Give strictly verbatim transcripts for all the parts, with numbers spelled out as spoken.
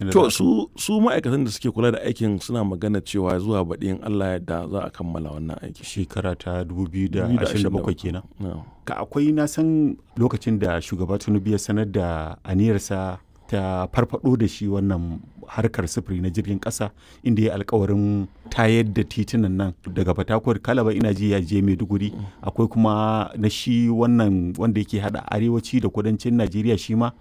da To su su ma'aikatan da suke kula da aikin suna magana cewa zuwa baɗi in Allah ya yarda za a kammala wannan aiki. Shekara ta dubu biyu da ashirin da bakwai kenan. Na'am. Ka akwai, na san lokacin da shugaba Tinubu ya sanar da aniyarsa ta farfado da shi wannan harkar sufuri na jirgin kasa, inda ya alkawarin tayar da titunan nan daga Fatakwar, Kalaba, ina ji ya je Maiduguri. Akwai kuma na shi wannan wanda yake hada arewaci da kudancin Najeriya, shi ma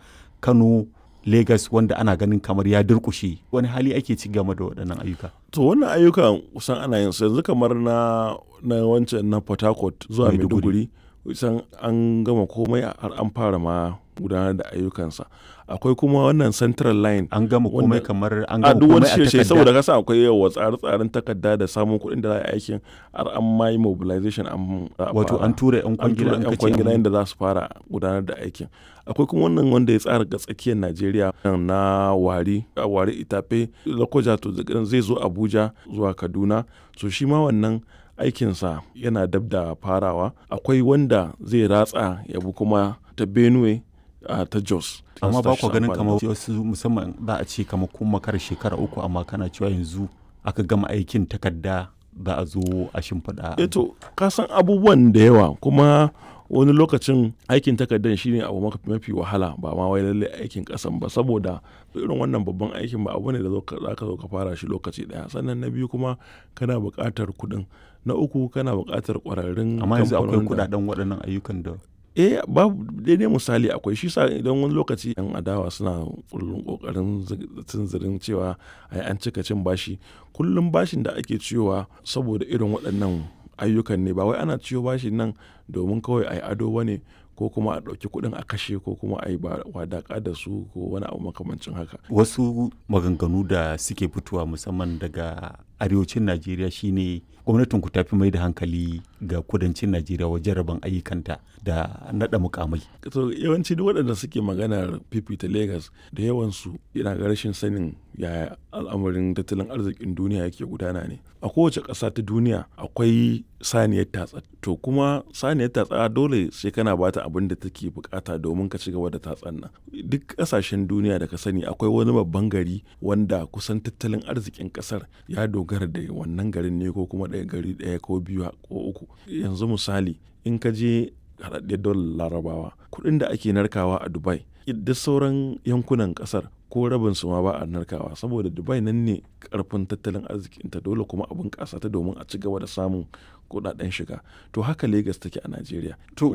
Kano Lagos, wanda ana ganin kamar ya durkushe. Wani hali ake ci game da waɗannan ayyuka? To wannan ayyukan kusan ana yin su yanzu, kamar na na wancan na Port Harcourt zuwa Maiduguri. Maiduguri, kusan an gama komai, har an fara ma gudanar da ayyukansa. Akwai kuma wannan Central Line. An gama komai Wanda- kamar an a gama duk wani komai a shirye takarda? Saboda kasa akwai yawa tsare-tsaren takarda da samun kuɗin da za a yi aikin, har an ma yi mobilization, an za a Wato fara. an tura 'yan An kwangila? tura An 'yan kace kwangila an- yadda za su fara gudanar da aikin. Akwai kuma wannan wanda ya tsara ga tsakiyar Najeriya na Wari a Wari, Itape, Lokoja, to zai zo Abuja zuwa Kaduna. So shi ma wannan aikinsa yana dab da farawa. Akwai wanda zai ratsa ya bi kuma ta Benue, a ta Jos. Amma ba ku ganin Amfani. kamar wasu, musamman za a ce kamar kun makara shekara uku, amma kana cewa yanzu aka gama aikin takarda, za a zo a shimfiɗa? Eh to, ka san abubuwan da yawa kuma wani lokacin aikin takardar shine abu maka- mafi wahala, ba ma wai lalle aikin kasan ba, saboda irin wannan babban aikin ba abu ne da zo ka- za ka zo ka fara shi lokaci daya. Sannan na biyu kuma kana buƙatar kuɗin, na uku kana buƙatar ƙwararrun Amma yanzu akwai kamfanonin da- kuɗaɗen waɗannan ayyukan da Eh, babu daidai misali akwai shi sa idan wani lokaci yan adawa suna kullum kokarin tunzirin cewa ai an cika cin bashi. Kullum bashin da ake ciyowa saboda irin waɗannan ayyukan ne, ba wai ana ciyo bashin nan domin kawai ai ado bane, ko kuma a ɗauki kuɗin a kashe, ko kuma a yi wadaƙa da su, ko wani abu makamancin haka. Wasu maganganu da suke fitowa musamman daga arewacin Najeriya shine gwamnatin ku tafi mai da hankali ga kudancin Najeriya wajen rabon ayyukanta da naɗa mukamai. To yawanci duk waɗanda suke maganar fifita Lagos, da yawansu yana ga rashin sanin yaya al'amarin tattalin arzikin duniya yake gudana ne. A kowace ƙasa ta duniya akwai saniyar tatsa. To kuma saniyar tatsa dole sai kana bata abin da take bukata domin ka ci gaba da tatsan nan. Duk ƙasashen duniya da ka sani akwai wani babban gari wanda kusan tattalin arzikin ƙasar ya dogara da wannan garin ne, ko kuma ɗaya gari ɗaya ko biyu ko uku. Yanzu misali, in ka je Haɗaɗɗiyar Daular Larabawa, kuɗin da ake narkawa a Dubai, duk sauran yankunan ƙasar ko rabin su ma ba a narkawa, saboda Dubai nan ne karfin tattalin arzikinta, dole kuma abin ƙasa ta domin a ci gaba da samun kuɗaɗen shiga. To haka Lagos take a Najeriya. To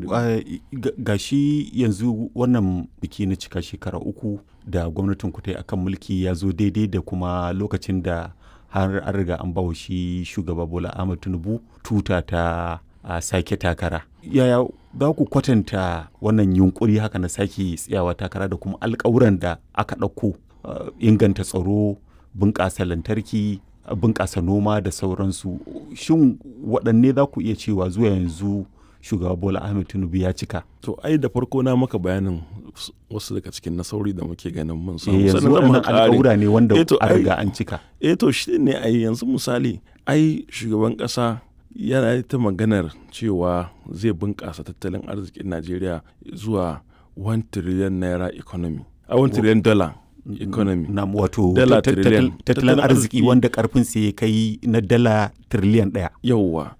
ga shi yanzu wannan biki na cika shekara uku da gwamnatin ku ta yi akan mulki ya zo daidai da kuma lokacin da har an riga an bawa shi shugaba Bola Ahmed Tinubu tuta ta a sake takara. Yaya za ku kwatanta wannan yunkuri haka na sake tsayawa takara da kuma alkawuran da aka ɗauko, inganta tsaro, bunƙasa lantarki, bunƙasa noma da sauransu? Shin waɗanne za ku iya cewa zuwa yanzu shugaba Bola Ahmed Tinubu ya cika? To ai da farko na maka bayanin wasu daga cikin nasarori da muke ganin mun samu. Yanzu waɗannan alƙawura ne wanda an riga an cika? Eh to, shi ne ai yanzu misali, ai shugaban ƙasa yana ta maganar cewa zai bunƙasa tattalin arzikin Najeriya zuwa one trillion naira economy. A one trillion dollar economy. Na wato tattalin arziki wanda karfin sa ya kai na dala trillion ɗaya. Yauwa.